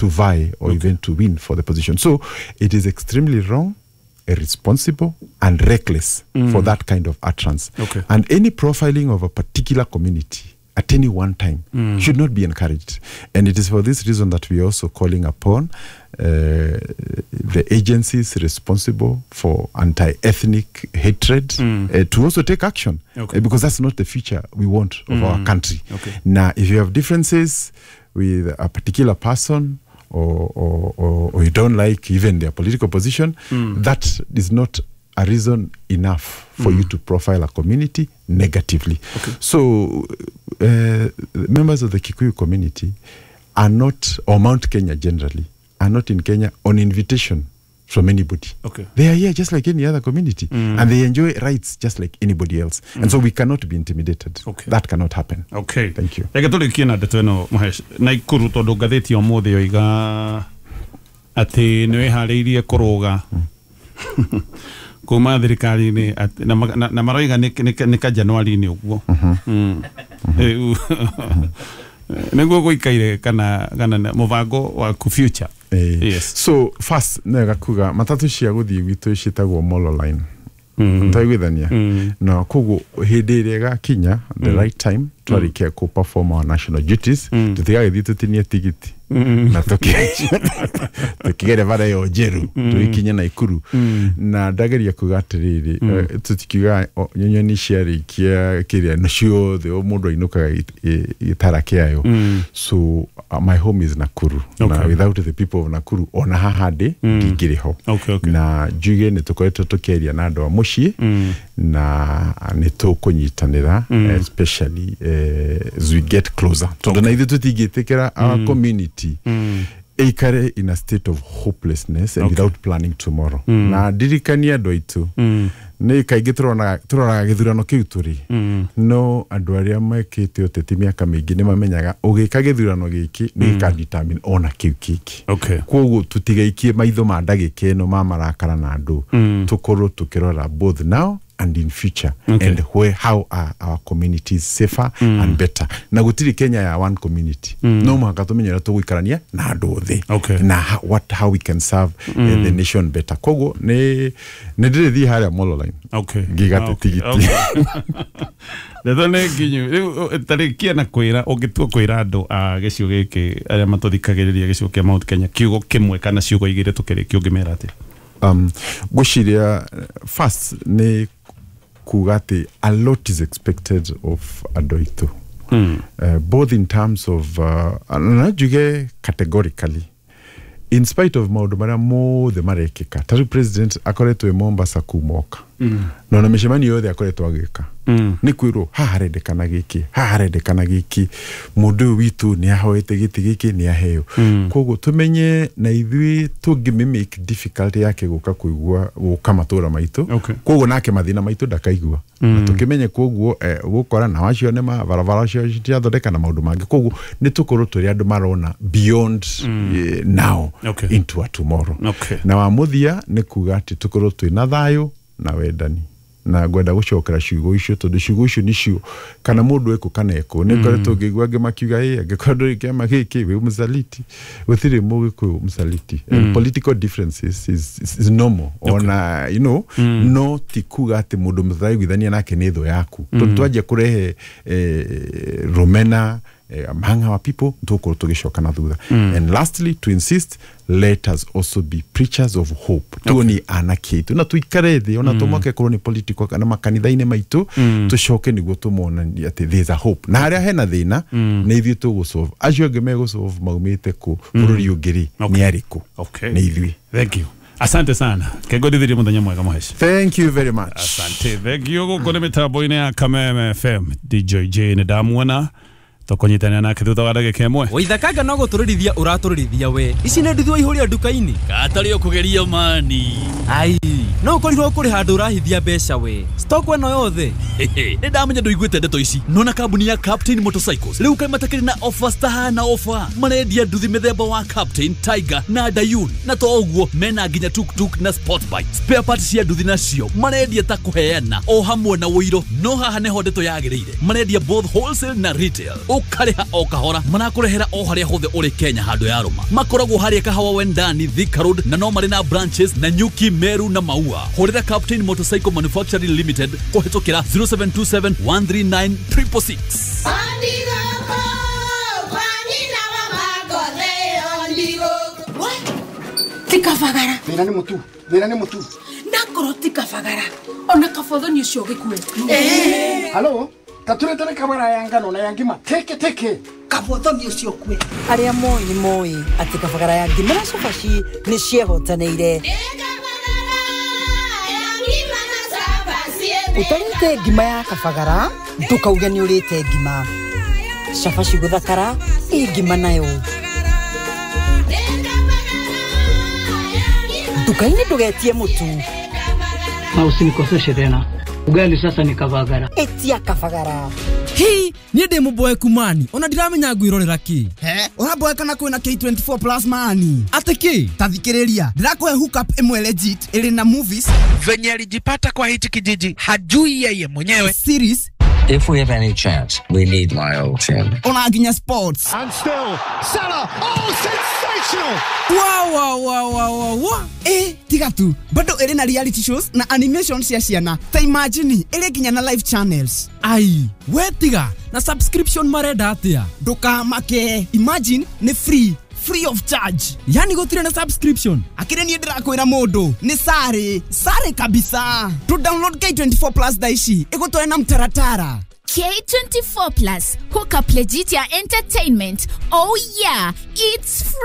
to vie or even to win for the position. So it is extremely wrong, irresponsible, and reckless for that kind of utterance. Okay. And any profiling of a particular community at any one time should not be encouraged. And it is for this reason that we are also calling upon the agencies responsible for anti-ethnic hatred to also take action, because that's not the future we want of our country. Okay. Now, if you have differences with a particular person, or you don't like even their political position, that is not a reason enough for you to profile a community negatively. Okay. So members of the Kikuyu community are not, or Mount Kenya generally, are not in Kenya on invitation from anybody. Okay. They are here just like any other community, and they enjoy rights just like anybody else. And so we cannot be intimidated. Okay. That cannot happen. Okay. Thank you. Reke tũrĩkie na ndeto ĩno Mũhesh Naikuru tondũ ngathĩti ya ũmũthĩ yoiga atĩ nĩ wĩharĩirie kũrũga kuma thirikari-inĩ na maroiga nĩ ka Januari-inĩ ũguo. Rĩu nĩguo gũikaire kana mũbango waku future. Yes. So first nega kuga matatu cia guthii gwitu ciĩtagwo Molo Line. Ntaiguithania na koguo hĩndĩ ĩrĩa ĩgakinya the right time twarĩkia kũ perform our national duties, tũtigagĩthiĩ tũtinie tigiti na tũkĩgere bara ĩyo njerũ tũgĩkinye Naikuru. Na ndageria kuga atĩrĩrĩ, tũtikiuga nyoni ciarĩkia kĩrĩa no ciothe o mũndũ ainũkaga gĩtara kĩayo. So my home is Nakuru. Na without the people of Nakuru ona haha ndĩ ndingĩrĩ ho. Na njuge nĩ tũkoretwo tũkĩaria na andũ a mũciĩ na nĩ tũkũnyitanĩra, especially as we get closer, tondũ na ithuĩ tũtingĩtĩkĩra our community ĩikare in a state of hopelessness and without planning tomorrow. Na ndirikania andũ aitũ nĩ kaingĩ tũroraga gĩthurano kĩu tũrĩ, no andũ arĩa mekĩte ũteti mĩaka mĩingĩ nĩ mamenyaga ũgĩka gĩthurano gĩkĩ nĩ gĩkadetermine ona kĩu kĩngĩ. Koguo tũtigaikie maitho ma ndagĩka ĩno ma marakara na andũ, tũkorwo tũkĩrora both now and in future, and where how are our communities safer and better. Na gutiri Kenya ya one community, no mũhaka tũmenye ũrĩa tũgũikarania na andũ othe, na how we can serve the nation better. Koguo nĩ ndĩrĩthiĩ harĩa Molo Line ngĩgate tigiti. Ndeto nĩ nginyu rĩu tarĩkia na kwĩra ũngĩtua kwĩra andũ a gĩcigo gĩkĩ arĩa matũthikagĩrĩria gĩcigo kĩa Mount Kenya kiugo kĩmwe kana ciugo igĩrĩ tũkĩrĩkia ũngĩmera atĩa? Ngwĩciria first nĩ kuga atĩ a lot is expected of andũ aitũ, both in terms of na njuge categorically, in spite of maũndũ marĩa mothe marekĩka. Ta rĩu president akoretwo e Mombasa kumoka, na ona mĩcemanio yothe akoretwo agĩka nĩ kwĩrwo haha harendekana gĩkĩ, haha harendekana gĩkĩ, mũndũ ũyũ witũ nĩ ahoete gĩtĩ gĩkĩ nĩ aheo. Koguo tũmenye na ithuĩ tũngĩmĩmake difficult yake gũka kũigua gũka matũra maitũ, koguo nake mathĩna maitũ ndakaigua. Na tũkĩmenye koguo gũkora na wacio nĩ mabarabara cio citiathondeka na maũndũ mangĩ. Koguo nĩ tũkorwo tũrĩ andũ marona beyond now into a tomorrow. Na wa mũthia nĩ kuga atĩ tũkorwo twĩna thayũ na wendani, na ngwenda gũcokera ciugo icio tondũ ciugo icio nĩcio kana mũndũ eko kana eko nĩ ngoretwo ngĩigua angĩ makiuga ĩ angĩkorwo ndũrĩ kĩama gĩkĩ wĩ mũsaliti, gũtirĩ mũgĩkũyũ mũsaliti. And political differences is normal ona you know, no ti kuga atĩ mũndũ mũtaraiguithania nake nĩ thũ yaku, tondũ twanjia kũrehe rũmena among our people tũgũkorwo tũgĩcoka na thutha. And lastly, to insist, let us also be preachers of hope. Tuoni anake aitũ na tuikare thĩ ona tũmoke korwo nĩ political kana makanitha-inĩ maitũ, tũcoke nĩguo tũmonanie atĩ there is a hope, na harĩa hena thĩna nĩ ithuĩ tũgũsolve, acio angĩ megũsolve maumĩte kũ bũrũri ũngĩ rĩ nĩ arĩkũ? Nĩ ithuĩ. Thank you. Asante sana. Kegondithirie muthenya mwega Mũhesh. Thank you very much. Asante. Thank you. Gũkũ nĩ mĩtambo-inĩ ya Kameme FM. DJ J nĩ ndamuona tũkũnyitanĩra nake thutha wa ndagĩka ĩmwe. Waithakanga no gũtũrĩrithia ũratũrĩrithia we. Ici nĩ nduthi waihũria nduka-inĩ. Gatarĩ ũkũgeria mani. Ai, no ũkorirwo kũrĩ handũ ũrahithia mbeca we. Stock ĩno yothe. Nĩ ndamenya ndũiguĩte ndeto ici. Nona kambuni ya Captain Motorcycles rĩu kaĩ matakĩrĩ na offers tahana offer. Marendia nduthi mĩthemba wa Captain, Tiger na Dayun, na to ũguo mena nginya tuktuk na sport bike. Spare parts cia nduthi nacio marendia ta kũheana o hamwe na ũiro, no haha nĩho ndeto yagĩrĩire. Marendia both wholesale na retail. Ũkarĩha o kahora. Marakũrehera o harĩa hothe ũrĩ Kenya handũ ya rũma. Makoragwo harĩa Kahawa Wendani, Thika Road, na no marĩ na branches na Nyuki, Meru na Maua. Hũrĩra Captain Motorcycle Manufacturing Limited kũhĩtũkĩra 0727 139 666. Tikabagara. Thĩna nĩ mũtu. Thĩna nĩ mũtu. Nakorwo tikabagara. Ona kabothoni ũcio ũgĩkue. Halo, taturetere kabara ya ngano na ya ngima. Teke teke. Kabothoni ũcio ũkue. Arĩa moĩ nĩ moĩ atĩ kabagara ya ngima na cabaci nĩ ciehotanĩire. Ũtarĩte ngima ya kabagara ndũkauge nĩ ũrĩte ngima. Cabaci gũthakara ĩ ngima nayo. Nduka-inĩ ndũgetie mũtu. Na usinikoseshe tena. Ugali sasa ni kabagara. Etia kabagara. Hi, niĩ ndĩ mũboeku mani ona ndiramenya ngwĩrorera kĩ. He, ũraboeka na kwĩna K24 plus mani. Atĩ kĩ? Ta thikĩrĩria, ndĩrakũhe hookup ĩmwe legit ĩrĩ na movies. Venye alijipata kwa hichi kijiji hajui yeye mwenyewe. Series. If we have any chance, we need my old team. Ona nginya sports. And still, Salah, oh, sensational! Wow, wow, wow, wow, wow. Tiga tu, bado ĩrĩ na reality shows na animation cia ciana. Ta imagine, ĩrĩ nginya na live channels. Ai, we tiga, na subscription marenda atĩa? Ndũkamake, imagine nĩ free. Free of charge. Yani gũtirĩ na subscription. Akĩrĩ niĩ ndĩrakwĩra mũndũ nĩ sare sare kabisa. To download K24 plus thaa ici ĩgũtware na mtaratara. K24 plus, hook up legit ya entertainment. Oh yeah, it's free.